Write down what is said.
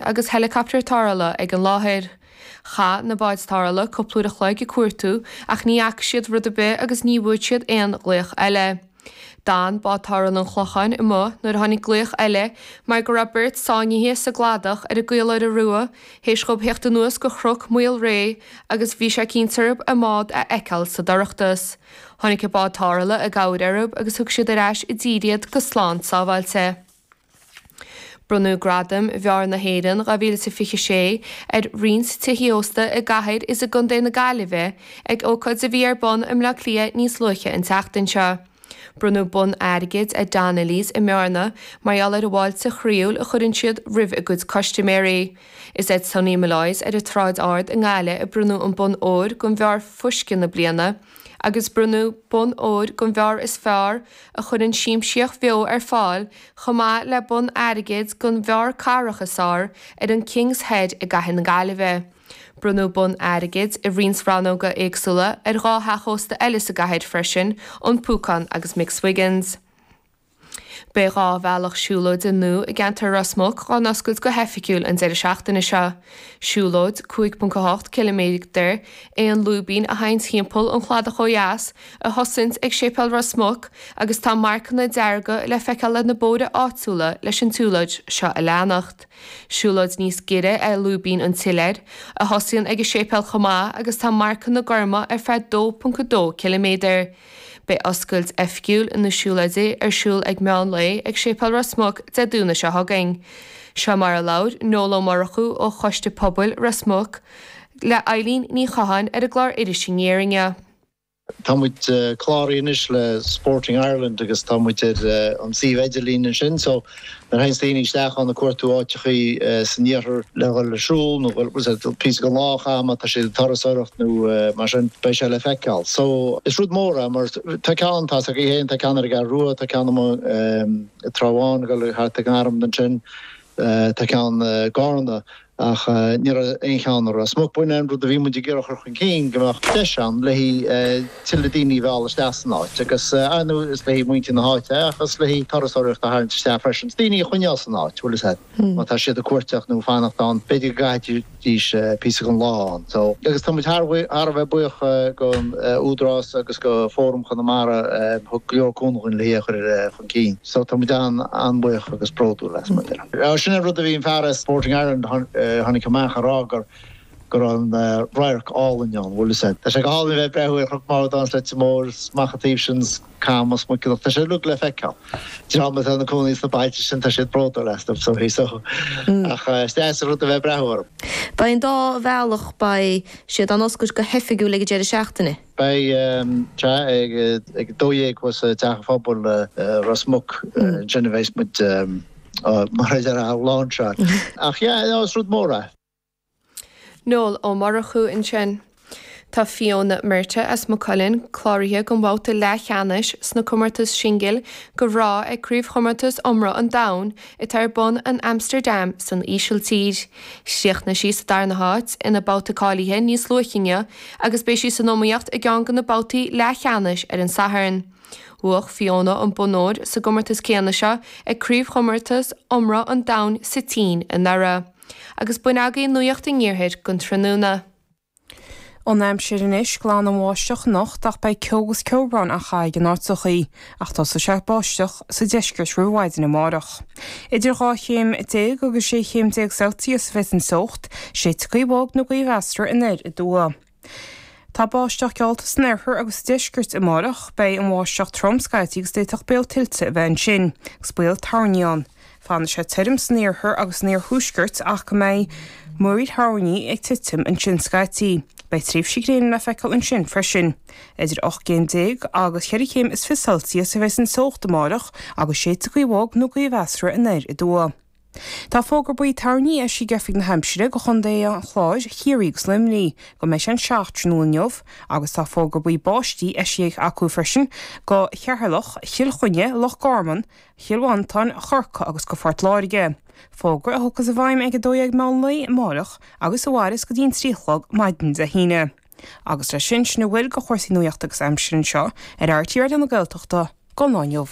Agus helicopter tarrthála ag an láthair. Chaith na báid tarrthála cúpla uair a chloig ag cuartú ach ní fhaca siad rud ar bith agus ní bhfuair siad aon ghlaoch eile. D'fhan bád tarrthála an Chlocháin amuigh nuair a tháinig glaoch eile mar go raibh beirt sáinnithe sa gcladach ar an gCaoláire Rua théis dhóibh theacht anuas go Chnoc Maolré agus bhí sé cinnte orthu a mbád a fheiceáil sa dorchadas. Tháinig an bád tarrthála i gcabhair orthu agus thug siad ar ais i dtír iad go slán sábháilte. Bronnadh Gradaim Bheár na hÉireann 2026 ar roinnt tithe ósta i gcathair is i gcontae na Gaillimhe ag ócáid a bhí ar bun i mBleá Cliath níos luaithe an tseachtain seo. Bronnadh bonn airgid ar Donnelly's i mBearna mar gheall ar an bhfáilte chroíúil a chuireann siad roimh a gcuid custaiméirí. Is ar Sonny Molloy's ar an tSráid Ard i nGaillimh a bronnadh an bonn óir don bheár fuisce na bliana agus bronnadh bonn óir don bheár is fearr a chuireann siamsaíocht bheo ar fáil chomh maith le bonn airgid don bheár cathrach is fearr ar an King's Head i gcathair na Gaillimhe. Bronnadh bonn airgid i roinnt rannóga éagsúla ar 2 theach ósta eile sa gcathair freisin, An Púcán agus McSwiggan's. Beidh 2 bhealach siúlóide nua i gceantar Ros Muc á n-oscailt go hoifigiúil an deireadh seachtaine seo. Siúlóid 5.8 ciliméadar é an Lúibín a théann timpeall an chladach ó dheas, a thosaíonns ag Séipéal Ros Muc agus tá marcanna dearga le feiceáil ar na bóithre áitiúla leis an tsiúlóid seo a leanacht. Siúlóid níos giorra é Lúibín an tSiléir, a thosaíonn ag an séipéal chomh maith agus tá marcanna gorma ar feadh 2.2 ciliméadar. Beidh oscailt oifigiúil na siúlóide ar siúl ag meán lae ag Séipéal Ros Muc Dé Domhnaigh seo chugainn. Seo mar a labhair Noel Ó Murchú ó Choiste Pobail Ros Muc le Eilín Ní Chatháin ar an gclár Iris Aniar inniu. Tá muid cláraithe anois le Sporting Ireland agus tá muid ar an suíomh idirlín ansin so nuair a théanns daoine isteach ann ag cuartú áiteachaí san iarthar le dhul ag siúl nó píosa den lá a chaitheamh má tá siad ag turasóireacht nó mar sin beidh sé le feiceáil. So is rud mór é mar tá ceann, tá a fhios agaibh féin, tá ceann ar an gCeathrú Rua, tá ceann amuigh i dTrá Bháin ag dul thart ag an arm ansin, tá ceann i gCarna. Ach ní raibh aon cheann i Ros Muc. B'in an rud a bhí muid ag iarraidh a chur chun cinn, go mbeadh deis ann le haghaidh tuilleadh daoine a mhealladh isteach san áit. Agus, ar ndóigh, is le haghaidh muintir na háite é, ach is le haghaidh turasóireacht a tharraingt isteach freisin. Is daoine a choinneáil san áit, bhfuil fhios a'd. Má tá siad ag cuairteacht nó ag fanacht ann, b'fhéidir go gcaithfidís píosa den lá ann. So, agus tá muid thar a bheith buíoch don Údarás agus go Fóram Chonamara a thug go leor cúnamh dhúinn le hí a chur chun cinn. So tá muid an-bhuíoch agus bródúil as, mar a déarfá. Sin an rud a bhí an fear as Sporting Ireland a tháinig amach a rá gur go raibh an radharc álainn ann, bhfuil fhios a'd. Tá sé go hálainn a bheith ag breathnú ar Chnoc Mharbhdáin is Leitir Móir is amach an taobh sin is Camas, Muiceallach, tá sé uilig le feiceáil. Dream atá ina cónaí sna bailte sin, tá siad bródúil astu so so ach is deas an rud a bheith ag breathnú orthu. Beidh an dá bhealach, beidh siad á n-oscailt go hoifigiúil ag an deireadh seachtaine. Beidh sea ag 12 thuas i dTeach an Phobail i Ros Muc ansin a bheas muid mar a déarfá á láinseáil. Ach yeah, no, is rud mór é. Noel Ó Murchú ansin. Tá Fiona Murtagh as Maigh Cuilinn cláraithe don bhabhta leathcheannais sna comórtais singil do mhná ag Craobhchomórtas Iomramh an Domhain atá ar bun in Amsterdam san Ísiltír. Chríochnaigh sí sa darna háit ina babhta cáilithe níos luaithe inniu agus beidh sí san iomaíocht i gceann de na babhtaí leathcheannais ar an Satharn. Bhuaigh Fiona an bonn óir sa gcomórtas céanna seo ag Craobhchomórtas Iomramh an Domhain sa tSín anuraidh. Agus b'in agaibh Nuacht an Iarthair don tráthnóna. An aimsir anois, glan an bháisteach anocht ach beidh ceo agus ceobhrán á chaitheamh in áiteachaí, ach tosóidh sé ag báisteach sa deisceart roimh mhaidin amárach. Idir 12 chéim agus 16 chéim Celsius a bheidh an teocht, séidfidh gaoth bhog nó gaoth mheasartha anoir aduaidh. Tá báisteach geallta san oirthear agus sa deisceart amárach. Beidh an bháisteach trom scaití agus d'fhéadfadh baol tuilte a bheith ansin, agus baol toirní ann. Fanfaidh sé tirim san iarthar agus san iarthuaisceart ach go mbeidh múraíl thoirní ag titim ansin scaití. Beidh tréimhsí gréine le feiceáil ansin freisin. Idir 18 gcéim agus cheithre chéim is fiche Celsius a bheidh an teocht amárach agus séidfidh gaoth bhog nó gaoth mheasartha anoir aduaidh. Tá fógra buí toirní eisithe ag Oifig na hAimsire do Chontae an Chláir, Chiarraí agus Luimnigh go mbeidh sé an 7 tráthnóna inniu agus tá fógra buí báistí eisithe acu freisin do Cheatharlach, Chill Chainnigh, Loch Garman, Chill Mhantáin, Chorcaí agus go Phort Láirge. Fógra a thiocfas i bhfeidhm ag 12 meán lae amárach agus a mhairfeas go dtí an 3 a chlog maidin Dé hAoine. Agus leis sin, sin a bhfuil de chúrsaí nuachta agus aimsire anseo ar RTÉ Raidió na Gaeltachta don lá inniu.